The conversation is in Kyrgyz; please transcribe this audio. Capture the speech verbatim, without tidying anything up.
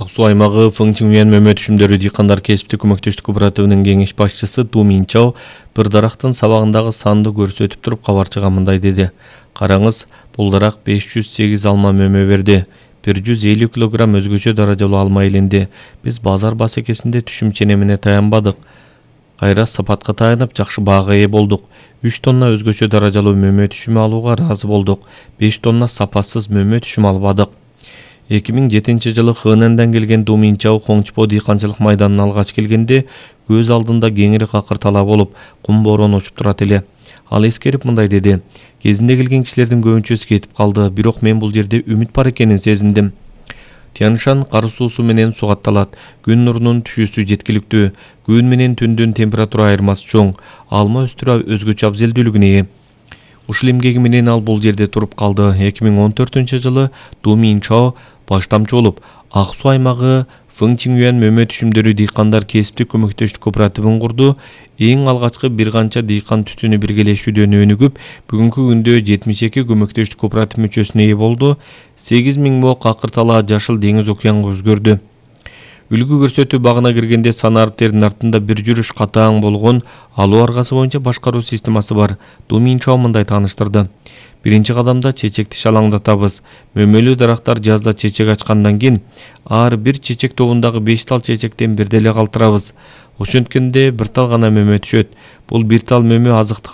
Ак Суу аймагы Фың Чиңюан мөмө түшүмдөрү дыйкандар кесиптик көмөктөштүк кооперативинин кеңеш башчысы Ду Минчао бир дарактын сабагындагы санды көрсөтүп туруп кабарчыга мындай деди. Караңыз, бул дарак беш жүз сегиз алма мөмө берди. бир жүз элүү килограмм өзгөчө даражалуу алма илинди. Биз базар басекесинде түшүм ченемине таянбадык. Кайра сапатка таянып жакшы баага ээ болдук. үч тонна өзгөчө даражалуу мөмө түшүмү алууга ыраазы болдук. беш тонна сапасыз мөмө түшүм албадык. эки миң жетинчи жылы Хэнандан келген Ду Минчао Хоңчпо дыйканчылык майданына алгач келгенде көз алдында кеңири какыр талаа болуп, кум бороон учуп турат эле. Ал эскерип мындай деди: "Кезинде келген кишилердин көбүнчөсү кетип калды, бирок мен бул жерде үмүт бар экенин сезиндим. Тянь-Шань кар суусу менен сугатталат. Күн нурунун түшүүсү жеткиликтүү. Күн менен түндүн температура айырмасы чоң. Алма өстүрүү өзгөчө абзелдүүлүгүнө ээ." Ушул эмгеги менен ал бул жерде туруп калды. эки миң он төртүнчү жылы Ду Минчао баштамчы болуп, Ак Суу аймагы Фың Чиңюан мөмө түшүмдөрү дыйкандар кесиптик көмөктөштүк кооперативин курду. Эң алгачкы бир канча дыйкан түтүнү биргелешүүдөн өнүгүп, бүгүнкү күндө жетимиш эки көмөктөштүк кооператив мүчөсүнө ээ болду. сегиз миң мо какыр талаа Жашыл деңиз океанга өзгөрдү. Үлгү көрсөтүү багына киргенде сан ариптердин артында бир жүрүш катаң болгон алуу аргасы боюнча башкаруу системасы бар. Ду Минчао мындай тааныштырды. Биринчи кадамда чечекти шалаңдатабыз. Мөмөлүү дарактар жазда чечек ачкандан кийин ар бир чечек тобундагы беш тал чечектен бир деле калтырабыз. Ошенткенде бир тал гана мөмө түшөт. Бул бир тал мөмө азыктык